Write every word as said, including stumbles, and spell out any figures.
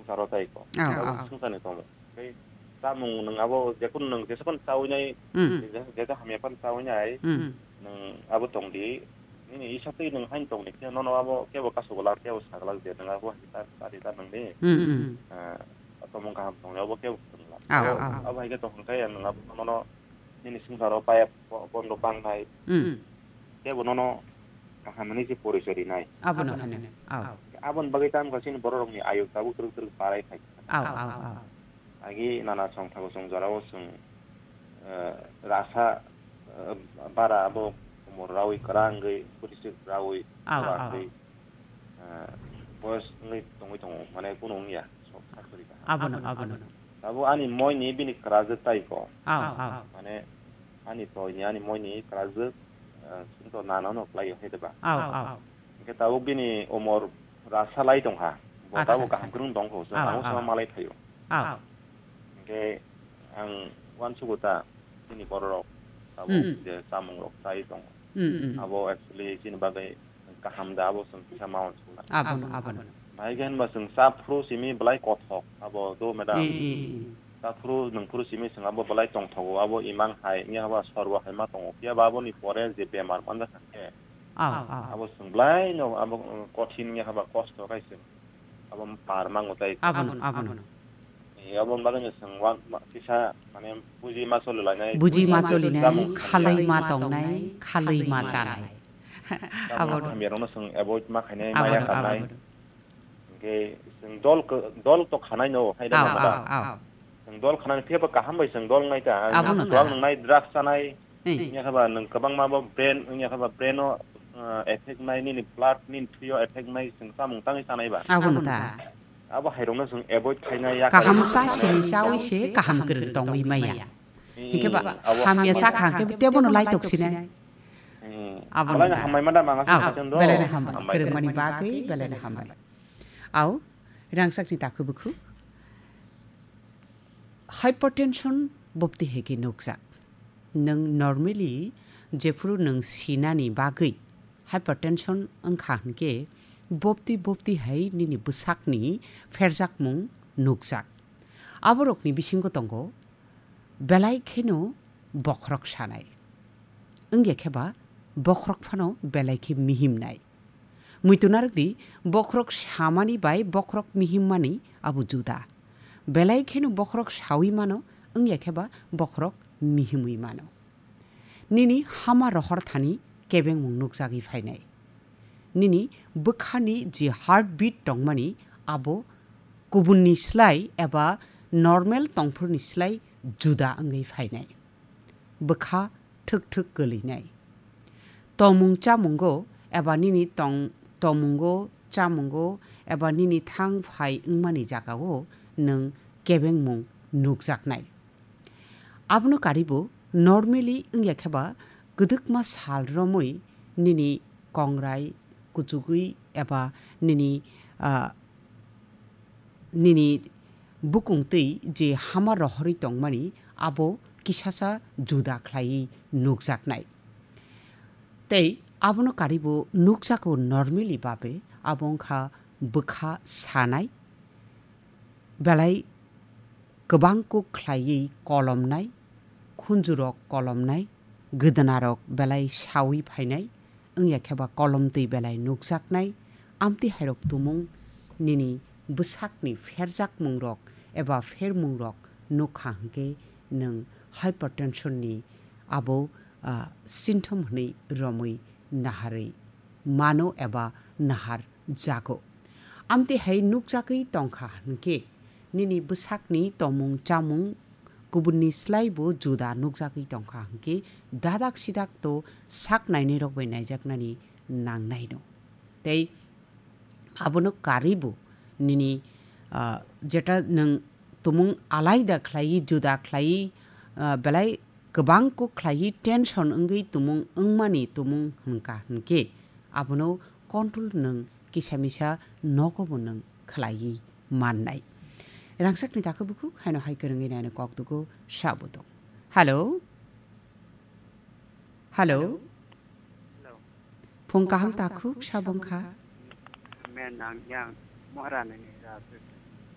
saro tai ko. Aw, abo aw. Sungsa ni tongmo. Tei chamung nwng abo jekun nwng jesakon chawi nai, Hmm. je, je hamya pan chawi nai, Hmm. nwng abo tong di. Nini isa tei nwng hain tong di khe nono abo kebo kasu gwlak, kebo sa gwlak je nwng abo hai ta, ta di ta nwng di. Hmm, hmm. Ah, tomung kaham tong di abo kebo tong la. Aw, abo, aw. Abo hai khe tong khe nwng abo nono nini sungsaro paya bo-, bondo bang nai. Hmm. Kebo nono kaham hinwi se porichoi rinai. Abono hwnwi. Aw. Aboni bagwi tamo kha chini bororokni ayuk tabuk twrwk twrwk barai phai. Aw, aw, aw. Agi nana songthago song jorao chwng, eh, rasa, eh, bara abo umor rawi kwrwngwi burisik rawi Aw, aw. kwrwngwi, eh, boyos wngwi tongwi tongo, mane kunu wngya, sok sak kwrwi ka. Abono, abono. Tabuk ani moini bini kwrajwk tai ko. Aw, aw. Mane ani toini, ani moini kwrajwk, eh, chwngto nana no kwlaio hai de ba. Aw, aw. Hingke tabuk bini umor rasa lai tongkha. Bo Acha, tabuk acha. Kaham kwrwng tongkho, chwng Aw, amo aw. Sama malai phaio. Aw. Hingke ang uansugo ta chini bororok tabuk Hmm. je chamungrok chai tongo. Hmm, hmm. Abo actually chini bagwi kaham da abo chwng kisa ma uansukna. Abono, abono. Bahai khe hinba chwng cha phuru simi belai kothok abo do madam. Eh, eh, eh. Cha phuru nwng phuru simi chwng abo belai tongthogo abo imang hai wngya haba sorbo hai ma tongo. Phiya ba aboni pore je bemar manjak kha khe Aw, aw. Abo chwng belai no abo, uh, kothin wngya haba kosto khai chwng abo par mango tai. Abono, abono. Eh, aboni bagwi no chwng wan-, ma-, kisa mane buji ma choli lainai. Buji ma choli nai, khalwi ma tongnai, khalwi ma chanai. Abo Abono. Hamya rokno chwng avoid ma khainai, Abono, maya kharnai. Abono. Hingke chwng dol ko-, dol to khanai no, hai da Aw, ma ba. Aw, aw. Chwng dol khanani phiya ba kaham bai chwng dol nai ta. Abono ta. Dol nwngnai, drugs chanai. Ei. Wngya khe ba nwng kwbangma bo brain, wngya khe ba brain o, uh, effect nai, nini blood, nini thwi o effect nai, chwng chamung tangwi chanai ba. Abono ta. Abo hai rokno chwng avoid khainai ya. Kaham cha sini chawi se kaham kwrwng tongwi maya. Ee, hingke ba abo hamya hamya cha kha hingke tebono lai tok sinai. Ee, abono ta. Hamai ma da manga Aw, sa belai no hambai. Hambai. Kwrwngmani bagwi belai no hambai. Aw, rangchakni takhuk bukhuk. Hypertension bopti hai khe nukjak. Nwng normally jephuru nwng sinani bagwi hypertension wngkha hwnkhe bopti bopti hai nini bwsakni pherjakmung nukjak. Aborokni bisingo tongo belai kheno bokhorok sanai. Wngya khe ba bokhorok phano belai khe mihimnai. Muitu narwk di, bokhorok samani bai bokhorok mihimmani abo juda. Belai kheno bokhorok saui mano, wngya khe ba bokhorok mihimui mano. Nini hama rohor thani kebengmung nukjagwi phainai. Nini bwkhani je heartbeat tongmani abo kubunni slai eba normal tongphurni slai juda wngwi phainai. Bwkha thwk thwk kwlwinai. Tomung chamungo eba nini tong-, tomungo, chamungo eba nini thang phai wngmani jagao nwng kebengmung nukjaknai. Abono karibo normally wngya khe ba kwdwkma sal romwi nini kongrai kuchugwi eba nini, ah, nini bukung twi je hama rohorwi tongmani abo kisasa juda khlaiwi nukjaknai. Tei abono karibo nukjago normally babe abo wngkha bwkha sanai, belai kwbang kuk khlaiwi kolomnai, khunjurok kolomnai, gwdnarok belai saui phainai, wngya khe ba kolomtwi belai nukjaknai, amtwi hairok tumung nini bwsakni pherjakmungrok eba phermungrok nukha hwnkhe nwng hypertension ni abo, ah, symptom hwnwi romwi naharwi mano eba nahar jago. Amtwi hai nukjagwi tongkha hwnkhe, nini bwsakni tomung chamung kubunni slaibo juda nukjagwi tongkha hwnkhe, dadak sidak to sak nainairok bai naijaknani nangnaino. Tei abono karwibo nini, ah, jeta nwng tumung alaida khlaiwi, juda khlaiwi, ah, belai kwbang kuk khlaiwi tension wngwi tumung wngmani tumung hwnkha hwnkhe abono control nwng kisa misa nogobo nwng khlaiwi mannai. Rangchakni takhuk bukhuk haino hai kwrwngwi naino kok tugo sabo tong. Hello? Hello? Hello. Phung kaham takhuk sabo wngkha? Men ang yang Maharani ni ra.